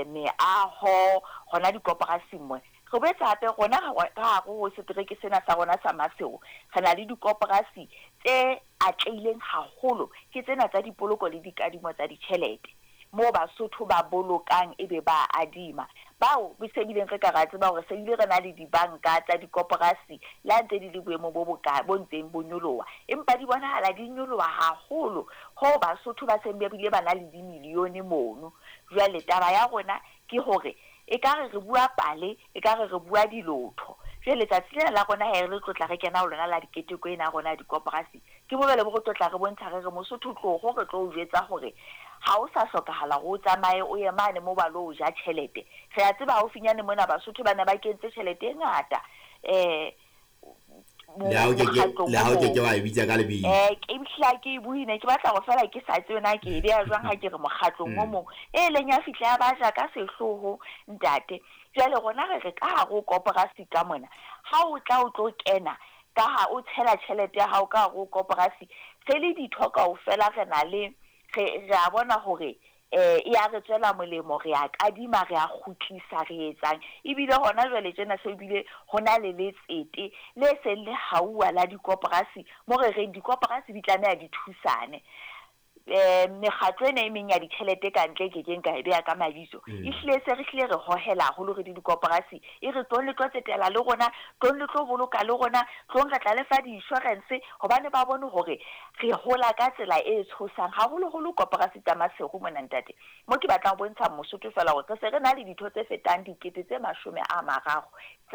Meaho hona dikoporasing mona. Re boetse hape rona ka hare ho setereke sena sa rona sa Maseru, re na le dikoporasi tse atlehileng haholo, ke tsena tsa dipoloko le dikadimo tsa ditjhelete, moo Basotho ba bolokang ebe ba adima. Bao se bileng re ka ra tseba hore se bile re na le dibanka tsa dikoporasi le ha ntse di le boemong bo boka bo ntseng bo nyoloha, empa di bonahala di nyoloha haholo hoo Basotho ba seng ba bile ba na le dimilione mono. Jwale taba ya rona ke hore ekare re bua pale, ekare re bua dilotho. Jwale letsatsi lena la rona he re tlotla re kena ho lona la diketeko ena ya rona ya dikoporasi, ke mo jwale bo re tlotla re bontsha re re Mosotho tloho re tlo o jwetsa hore ha o sa hlokahala hore o tsamaye o ye mane mo ba lo ja tjhelete. Re a tseba haufinyane mona Basotho ba ne ba kentse tjhelete e ngata Le ha o ke ke mokgatlong le ha o o ke ke mong. wa e bitsa ka lebitso. Ke hla ke e buile, ke batla hore feela ke sa tsebe na ke e beha jwang ha ke re mokgatlong o mong. E leng ya fihla ya ba ja ka sehloho ntate. Jwale rona re re ka hare ho koporasi ka mona, ha o tla o tlo kena ka ha o tshela tjhelete ya hao ka hare ho koporasi, re le ditho kaofela re na le re a bona hore e ya re tswela molemo, re a kadima, re a kgutlisa, re etsang. Ebile hona jwale tjena se bile ho na le letsete le seng le hauwa la dikoporasi, mo re reng dikoporasi di tlameha di thusane. Mekgatlo ena e meng ya ditjhelete ka ntle ke keng ka e beha ka mabitso, ehlile se re hlile re hohela haholo re di dikoporasi, e re tlong le tlo tsetela le rona, tlong le tlo boloka le rona, tlong re tla le fa di-insurance, hobane ba bone hore re hola ka tsela e tshosang haholoholo koporasi tsa Maseru mona ntate. Mo ke batlang ho bontsha Mosotho fela hore re se re na le ditho tse fetang 30 000 tsa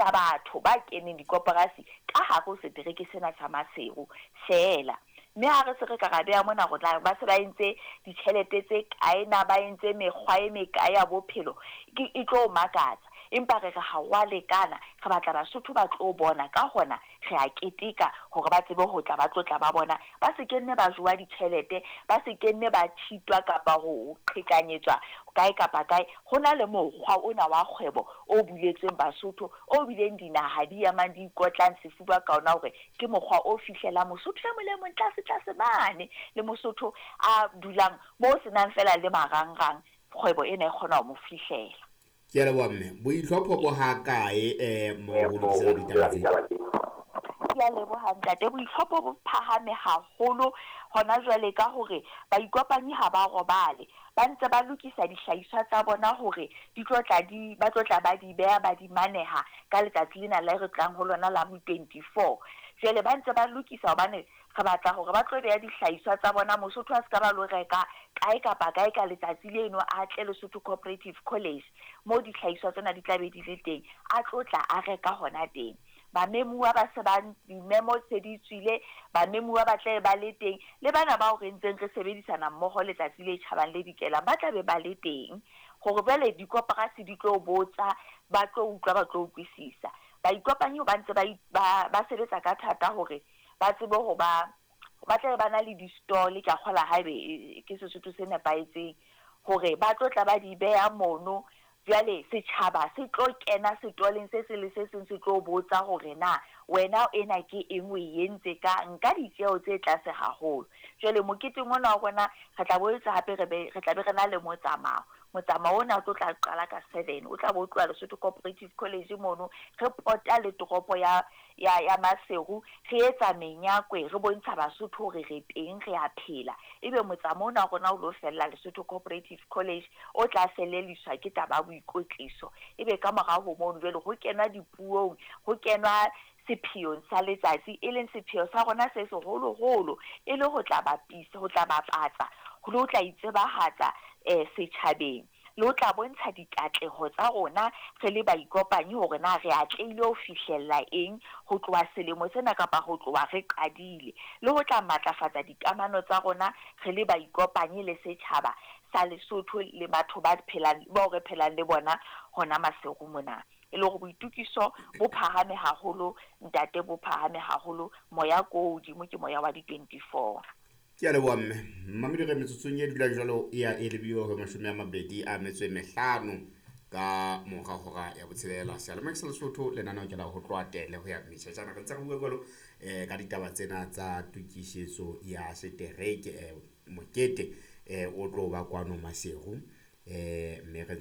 batho ba keneng dikoporasi ka hare ho setereke sena sa Maseru fela. Mme ha re se re ka ra beha mona hore na ba se ba entse ditjhelete tse kae, na ba entse mekgwa e mekae ya bophelo, ke e tlo makatsa. Empa re re ha wa lekana, re batla Basotho ba tlo bona, ka hona re a keteka hore ba tsebe ho tla ba tlo tla ba bona, ba se ke nne ba jowa ditjhelete, ba se ke nne ba cheatwa kapa ho qhekanyetswa kae kapa kae. Ho na le mokgwa ona wa kgwebo o buletsweng Basotho, o bileng dinaha di emang di ikotlang sefuba ka ona hore ke mokgwa o fihlelang Mosotho e mong le mong tlase tlase mane, le Mosotho a dulang mo senang fela le marangrang, kgwebo ena e kgona ho mo fihlela. Ke a leboha mme. Boitlhopho bo ha kae mo ho lokisela ditaba tse? Ke a leboha ntate. Boitlhopho bo phahame haholo hona jwale ka hore baikopanyi ha ba robale, ba ntse ba lokisa dihlahiswa tsa bona hore di tlo tla di ba tlo tla ba di beha ba di maneha ka letsatsi lena le re tlang ho lona la bo 24. Jwale ba ntse ba lokisa hobane re batla hore ba tlo beha dihlahiswa tsa bona, Mosotho a se ka ba lo reka kae kapa kae ka letsatsi leno, a tle Lesotho Cooperative College mo dihlahiswa tsena di tla be di le teng, a tlo tla a reka hona teng. Bamemuwa ba se ba dimemo se di tswile, bamemuwa ba tla ba le teng, le bana bao re ntseng re sebedisana mmoho letsatsi le tjhabang le dikelang ba tla be ba le teng, hore jwale dikoporasi di tlo botsa, ba tlo utlwa, ba tlo utlwisisa. Baikopanyi ba ntse ba sebetsa ka thata hore ba tsebe ho ba ba tla ba na le di-stall, ke a kgola haebe ke Sesotho se nepahetseng, hore ba tlo tla ba di beha mono. Jwale setjhaba se tlo kena setoleng se seng le se seng, se tlo botsa hore na wena ena ke eng, o e entse ka nka ditjeho tse tlase haholo. Jwale moketeng ona wa rona re tla boetse hape re be re tla be re na le motsamao. Motsamao ona o tlo tla qala ka 7, o tla bo tloha Lesotho Cooperative College mono, re pota le toropo ya Maseru, re etsa menyakwe, re bontsha Basotho hore re teng, re a phela. Ebe motsamao ona wa rona o lo fella Lesotho Cooperative College, o tla felelliswa ke taba ya boikwetliso. Ebe ka morao ho mono jwale ho kenwa dipuong, ho kenwa sepheong sa letsatsi, e leng sepheo sa rona se seholoholo, e le ho tla bapisa, ho tla bapatsa, le ho tla itsebahatsa setjhabeng, le ho tla bontsha dikatleho tsa rona re le baikopanyi hore na re atlehile ho fihlella eng ho tloha selemo sena kapa ho tloha re qadile, le ho tla matlafatsa dikamano tsa rona re le baikopanyi le setjhaba sa Lesotho le batho ba phelang bao re phelang le bona hona Maseru mona. E le hore boitukiso bo phahame haholo ntate, bo phahame haholo, moya ko hodimo ke moya wa di 24. Ke a leboha mme. Mmamedi re metsotsong e dula jwalo e ya e lebile ho 25 ka mora hora ya botshelela. Seyalemoya sa Lesotho lenaneo ke la ho tloha tele ho ya metjhetjana. Re ntse re bua jwalo ka ditaba tsena tsa tokisetso ya setereke, mokete o tlo ba kwano Maseru, mme re